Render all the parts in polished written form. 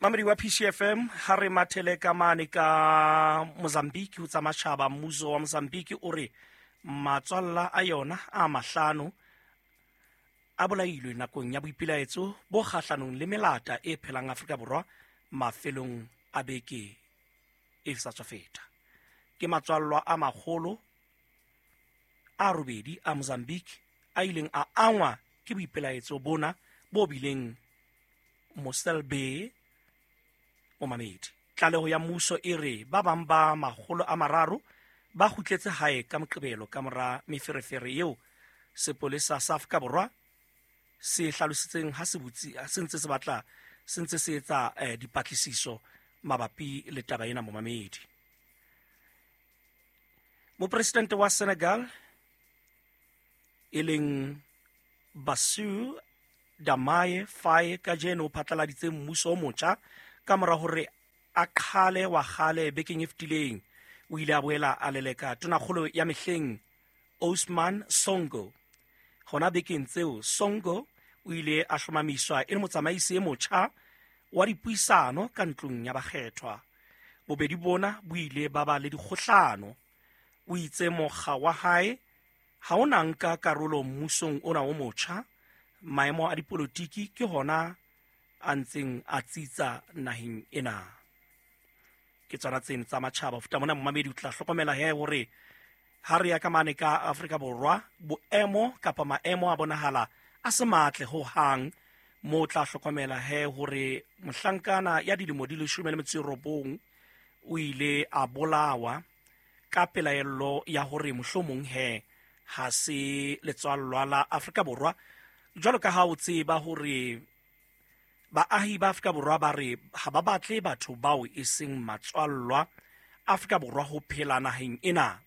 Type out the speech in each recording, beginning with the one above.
Mamedi wa PCFM, ha re mathele ka mane ka Mozambique ho tsa matjhaba. Mmuso wa Mozambique o re matswalla a yona a mahlano a bolailwe nakong ya boipilaetso bo kgahlanong le melata e phelang Afrika Borwa mafelong a beke e sa tswa feta. Ke matswallwa a makgolo a robedi a Mozambique a ileng a angwa ke boipelaetso bona bo bileng Mossel Bay. Momamedi, tlaleho ya mmuso e re ba bang ba 300 ba kgutletse hae ka Moqebelo ka mora meferefere eo sepolesa sa Afrika Borwa se hlalositseng ha se butsi se ntse se batla se ntse se etsa dipatlisiso mabapi le taba ena. Momamedi, mopresidente wa Senegal e leng Bassirou Diomaye Faye kajeno o phatlaladitse mmuso o motjha ka mora hore a qhale wa kgale bekeng e fetileng. O ile a boela a leleka tonakgolo ya mehleng Ousmane Sonko. Hona bekeng tseo, Sonko o ile a hlomamiswa e le motsamaisi e motjha wa dipuisano ka ntlong ya bakgethwa. Bobedi bona bo ile ba ba le dikgohlano. O itse mokga wa hae ha o na nka karolo mmusong ona o motjha. Maemo a dipolotiki ke hona a ntseng a tsitsa naheng ena. Ke tsona tseno tsa matjhaba. Ho feta mona, momamedi, o tla hlokomela he hore ha re ya ka mane ka Afrika Borwa, boemo kapa maemo a bonahala a se matle ho hang. Mo tla hlokomela he hore mohlankana ya dilemo di 19 o ile a bolawa ka pelaello ya hore mohlomong he ha se letswallwa la Afrika Borwa. Jwalo ka ha o tseba hore baahi ba Afrika Borwa ba re ha ba batle batho bao e seng matswallwa Afrika Borwa ho phela naheng ena,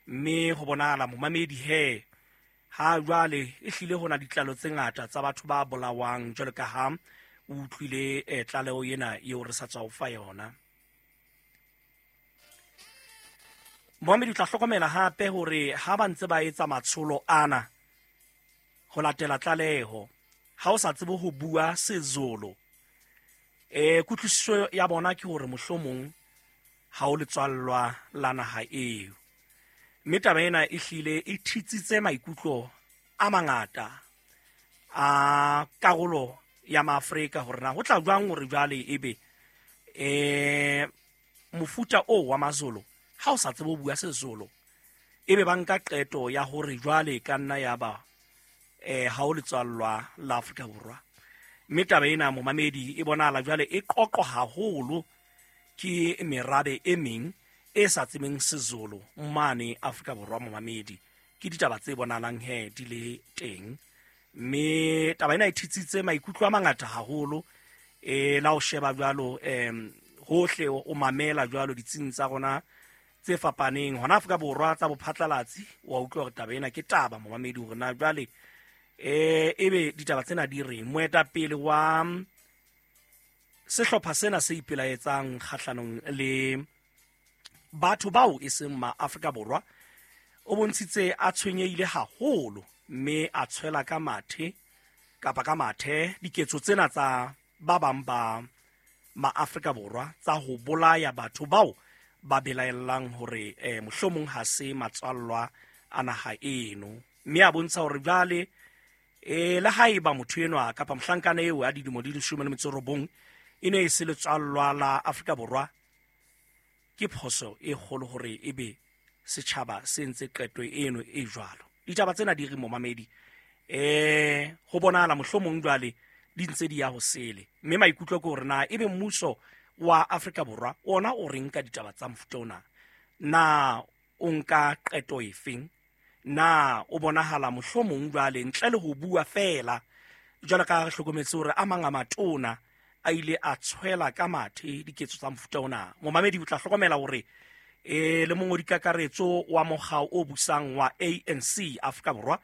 mme ho bonahala, momamedi, he ha jwale e hlile ho na ditlalo tse ngata tsa batho ba bolawang, jwalo ka ha o utlwile tlaleho ena eo re sa tswa ho fa yona. Mohamedi, o tla hlokomela hape hore ha ba ntse ba etsa matsholo ana, ho latela tlaleho, ha o sa tsebe ho bua Sezulu, kutlwisiso ya bona ke hore mohlomong ha o letswallwa la naha eo. Mme taba ena e hlile e thitsitse maikutlo a mangata a karolo ya Maafrika hore na ho tla jwang hore jwale ebe mofuta o wa Mazulu, ha o sa tsebe ho bua Sezulu, ebe ba nka qeto ya hore jwale ka nna ya ba ha o letswallwa la Afrika Borwa. Mme taba ena, momamedi, e bonahala jwale e qoqwa haholo ke merabe e meng e sa tsebeng Sezulu mane Afrika Borwa. Momamedi, ke ditaba tse bonahalang he di le teng, mme taba ena e thitsitse maikutlo a mangata haholo. La o sheba jwalo hohle, o mamela jwalo ditsing tsa rona tse fapaneng hona Afrika Borwa tsa bophatlalatsi, wa utlwa hore taba ena ke taba, momamedi, hore na jwale ebe ditaba tsena di reng. Moetapele wa sehlopha sena se ipelaetsang kgahlanong le batho bao e seng ma Afrika Borwa o bontshitse a tshwenyehile haholo, mme a tshwela ka mathe kapa ka mathe diketso tsena tsa ba bang ba ma-Afrika Borwa tsa ho bolaya batho bao ba belaellang hore mohlomong ha se matswallwa a naha eno. Mme a bontsha hore jwale le haeba motho enwa kapa mohlankana eo a dilemo di 19 e ne e se letswallwa la Afrika Borwa, ke phoso e kgolo hore ebe setjhaba se entse qeto eno e jwalo. Ditaba tsena di re, momamedi, ho bonahala mohlomong jwale di ntse di ya ho sele, mme maikutlo ke hore na ebe mmuso wa Afrika Borwa ona o reng ka ditaba tsa mofuta ona. Na o nka qeto efeng? Na o bonahala mohlomong jwale ntle le ho bua feela, jwalo ka re hlokometse hore a mang a matona a ile a tshwela ka mathe diketso tsa mofuta ona? Momamedi, o tla hlokomela hore le mongodi kakaretso wa mokga o busang wa ANC Afrika Borwa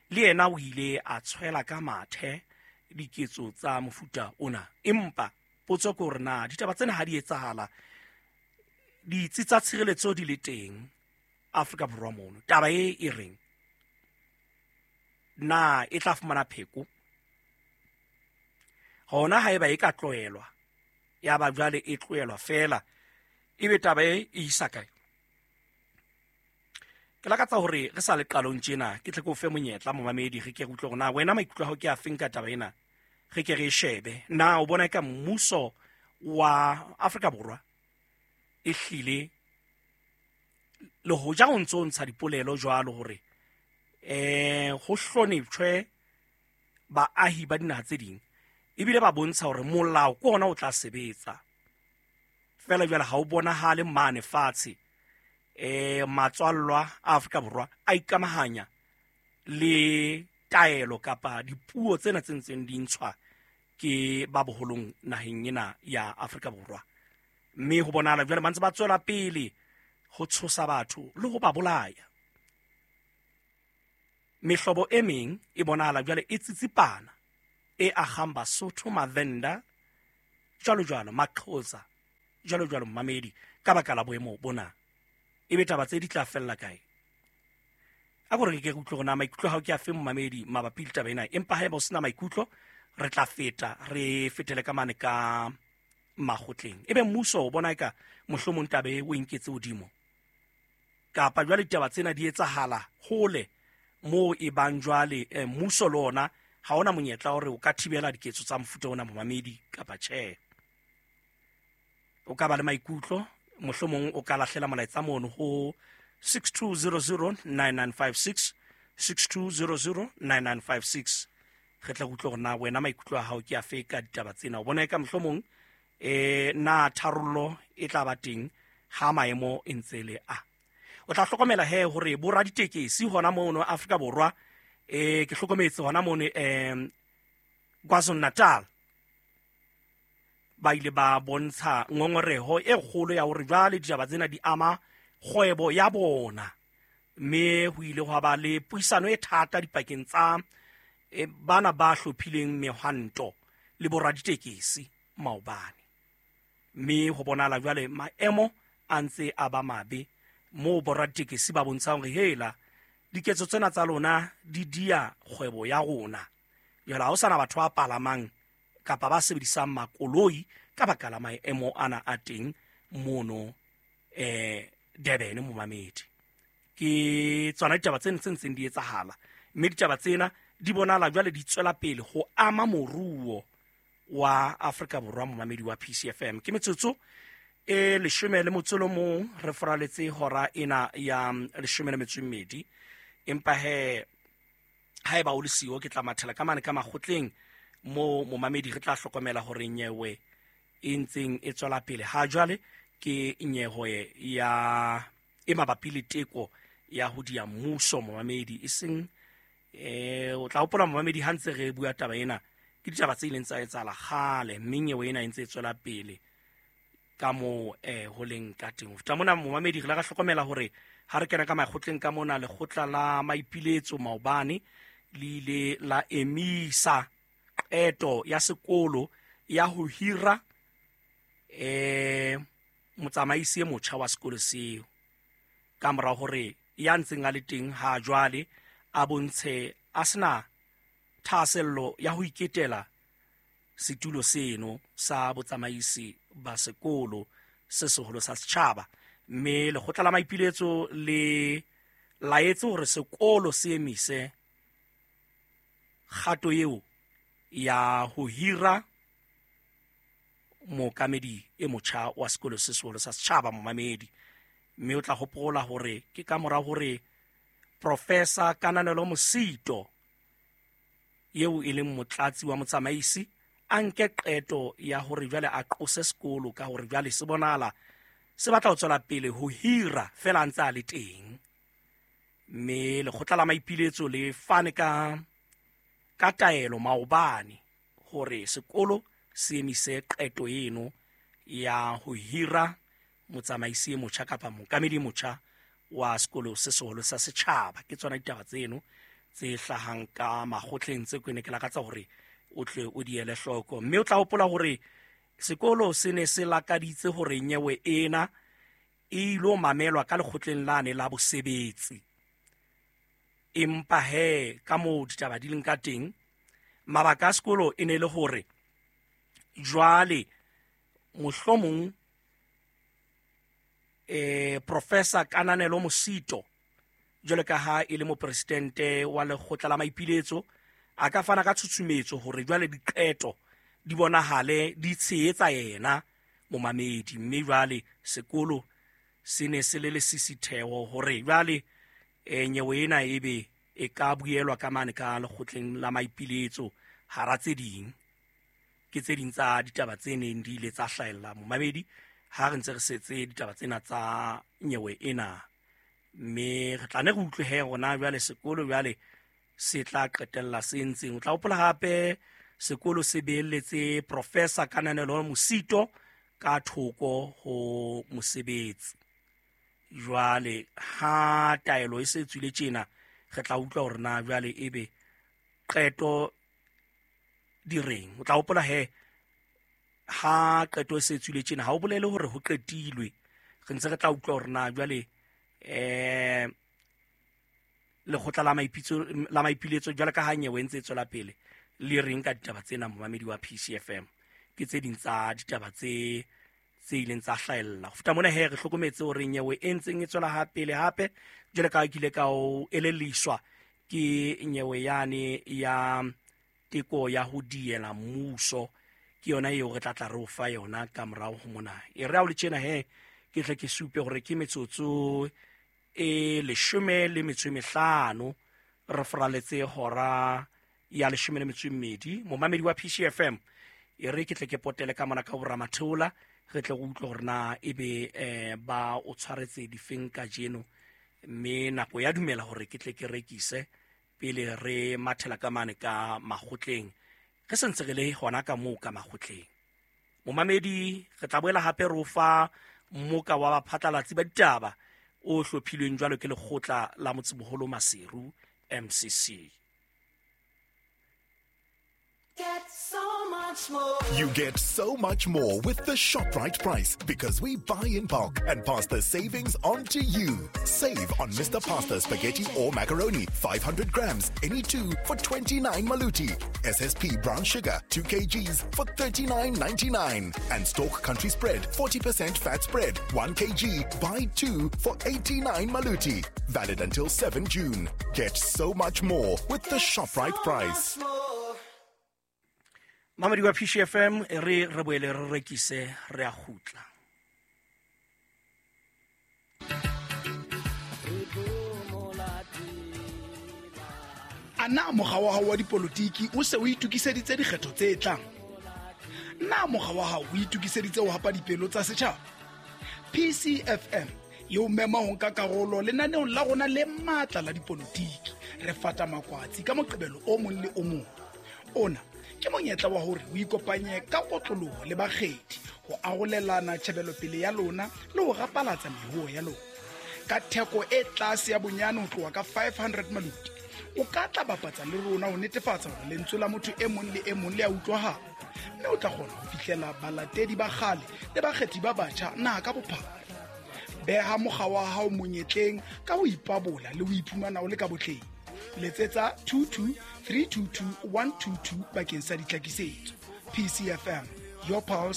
le yena o ile a tshwela ka mathe diketso tsa mofuta ona. Empa potso ke hore na ditaba tsena ha di etsahala, ditsi tsa tshireletso di le teng Afrika Borwa mono, taba e e reng na e tla fumana pheko hona haeba e ka tlohelwa? Ya ba jwale e tlohelwa feela, ebe taba e e isa kae? Ke lakatsa hore re sa le qalong tjena ke tle ke o fe monyetla, momamedi, re ke re utlwe hore na wena maikutlo a hao ke a feng ka taba ena. Re ke re e shebe, na o bona eka mmuso wa Afrika Borwa e hlile le hoja o ntso ntsha dipolelo jwalo hore ho hloneptjhwe baahi ba dinaha tse ding, ebile ba bontsha hore molao ke ona o tla sebetsa fela, jwale ha o bonahale mane fatshe. Matswallwa a Afrika Borwa a ikamahanya le taelo kapa dipuo tsena tse ntseng di ntshwa ke ba boholong naheng ena ya Afrika Borwa, mme ho bonahala jwale ba ntse ba tswela pele ho tshosa batho le ho ba bolaya. Mehlobo e meng e bonahala jwale e tsitsipana, e agang Basotho, Mavenda, jwalo jwalo, Maxhosa, jwalo jwalo, mmamedi, ka baka la boemo bona. Ebe taba tse di tla fella kae? A ko re ke utlwe hore na maikutlo a hao ke afe, momamedi, mabapi le taba ena. Empa haeba o sena maikutlo, re tla feta re fetele ka mane ka makgotleng. Ebe mmuso o bona eka mohlomong taba e o e nketse hodimo, kapa jwale ditaba tsena di etsahala hole moo e bang jwale mmuso le ona ha ona monyetla hore o ka thibela diketso tsa mofuta ona, momamedi, kapa tjhe? O ka ba le maikutlo, mohlomong o ka lahlela molaetsa mono ho 62009956, 62009956. Re tla utlwa hore na wena maikutlo a hao ke afe ka ditaba tsena. O bona eka mohlomong na tharollo e tla ba teng ha maemo e ntse le a? O tla hlokomela he hore bo raditekesi hona mono Afrika Borwa, ke hlokometse hona mono KwaZulu Natal, ba ile ba bontsha ngongoreho e kgolo ya hore jwale ditaba tsena di ama kgwebo ya bona, mme ho ile hwa ba le puisano e thata dipakeng tsa bana ba hlophileng mehwanto le boraditekesi maobane. Mme ho bonahala jwale maemo a ntse a ba mabe, moo boraditekesi ba bontshang hore hela, diketso tsena tsa lona di dia kgwebo ya rona. Jwale ha ho sana batho ba palamang kapa ba sebedisang makoloi ka baka la maemo ana a teng mono Durban, momamedi. Ke tsona ditaba tsena tse ntseng di etsahala, mme ditaba tsena di bonahala jwale di tswela pele ho ama moruo wa Afrika Borwa, momamedi wa PCFM. Ke metsotso e 11 re foraletse hora ena ya 12. Empa he haeba o le siyo, ke tla mathela ka mane ka makgotleng mo, momamedi. Re tla hlokomela hore nyewe e ntseng e tswela pele ha jwale ke nyewe ya e mabapi le teko ya ho dia mmuso, momamedi. E seng o tla hopola, momamedi, ha ntse re bua taba ena, ke ditaba tse ileng tsa etsahala kgale, mme nyewe ena e ntse e tswela pele ka moo ho leng ka teng. Ho feta mona, momamedi, re la ra hlokomela hore ha re kena ka makgotleng ka mona, lekgotla la maipiletso maobane le ile la emisa qeto ya sekolo ya ho hira motsamaisi e motjha wa sekolo seo, ka mora hore ya ntseng a le teng ha jwale a bontshe a sena thahasello ya ho iketela setulo seno sa botsamaisi ba sekolo se seholo sa setjhaba. Mme lekgotla la maipiletso le laetse hore sekolo se emise kgato eo ya ho hira mookamedi e motjha wa sekolo se seholo sa setjhaba, momamedi. Mme o tla hopola hore ke ka mora hore Professor Kananelo Mosito, eo e leng motlatsi wa motsamaisi, a nke qeto ya hore jwale a qose sekolo ka hore jwale se bonahala se batla ho tswela pele ho hira fela a ntse a le teng. Mme lekgotla la maipiletso le fane ka taelo maobane hore sekolo se emise qeto eno ya ho hira motsamaisi e motjha kapa mookamedi e motjha wa sekolo se seholo sa setjhaba. Ke tsona ditaba tseno tse hlahang ka makgotleng tse ke ne ke lakatsa hore o tle o di ele hloko. Mme o tla hopola hore sekolo se ne se lakaditse hore nyewe ena e ilo mamelwa ka lekgotleng lane la bosebetsi, empa he ka moo ditaba di leng ka teng, mabaka a sekolo e ne le hore jwale Mohlomong Professor Kananelo Mosito jwalo ka ha e le mopresidente wa lekgotla la maipiletso a ka fana ka tshutshumetso hore jwale diqeto di bonahale di tshehetsa yena momamedi. Mme jwale sekolo se ne se le lesisitheho hore jwale nyewe ena ebe e ka buelwa ka mane ka lekgotleng la maipiletso hara tse ding. Ke tse ding tsa ditaba tse neng di ile tsa hlahella momamedi ha re ntse re setse ditaba tsena tsa nyewe ena. Mme re tla ne re utlwe he rona jwale sekolo jwale se tla qetella se ntseng. O tla hopola hape sekolo se beelletse Professor Kananelo Mosito ka thoko ho mosebetsi. Jwale ha taelo e se tswile tjena re tla utlwa hore na jwale ebe qeto di reng. O tla hopola he ha qeto e se tswile tjena ha o bolele hore ho qetilwe, re ntse re tla utlwa hore na jwale lekgotla la maipiletso jwale ka ha nyewe ntse e tswela pele le reng ka ditaba tsena momamedi wa PCFM. Ke tse ding tsa ditaba tse ileng tsa hlahella. Ho feta mona he re hlokometse hore nyewe e ntseng e tswela ha pele hape jwale ka kile ka o elelliswa ke nyewe yane ya teko ya ho diela mmuso, ke yona eo re tla tla re o fa yona ka morao ho mona. E re ha o le tjena he ke tle ke supe hore ke metsotso e 15 re foraletse hora ya 12. Momamedi wa PCFM e re ke tle ke potele ka mona ka boramatheola re tle go utlwe hore na ebe ba o tshwaretse difeng kajeno, mme nako ya dumela hore ke tle ke rekise pele re mathela ka mane ka makgotleng. Re sentse re le hona ka moo ka makgotleng. Momamedi re tla boela hape re o fa mmoka wa baphatlalatsi ba ditaba o hlophilweng jwalo ke lekgotla la Motsemoholo Maseru MCC. Get so much more. You get so much more with the ShopRite price because we buy in bulk and pass the savings on to you. Save on Mr. Pasta spaghetti or macaroni, 500 grams, any two for 29 maluti. SSP brown sugar, 2 kgs for 39.99. And Stork Country Spread, 40% fat spread, 1 kg, buy 2 for 89 maluti. Valid until 7 June. Get so much more with the ShopRite price. Mamedi wa PCFM re re boele re rekise re a kgutla. Ana mokga wa hao wa dipolotiki o se o itokiseditse dikgetho tse tlang? Na mokga wa hao o itokiseditse ho hapa dipelo tsa setjhaba? PCFM e o mema ho nka karolo lenaneong la rona le matla la dipolotiki. Re fata makwatsi ka Moqebelo o mong le o mong. Ona ke monyetla wa hore o ikopanye ka kotloloho le bakgethi ho arolelana tjhebelopele ya lona le ho rapalatsa mehuo ya lona. Ka theko e tlase ya bonyane ho tloha ka 500 maluti, o ka tla bapatsa le rona ho netefatsa hore lentswe la motho e mong le e mong le a utlwahala, mme o tla kgona ho fihlela balatedi ba kgale le bakgethi ba batjha naha ka bophara. Beha mokga wa hao monyetleng ka ho ipabola le ho iphumana o le ka botleng. Letsetsa 22 322 122 bakeng sa ditlhakisetso. PCFM, your pulse.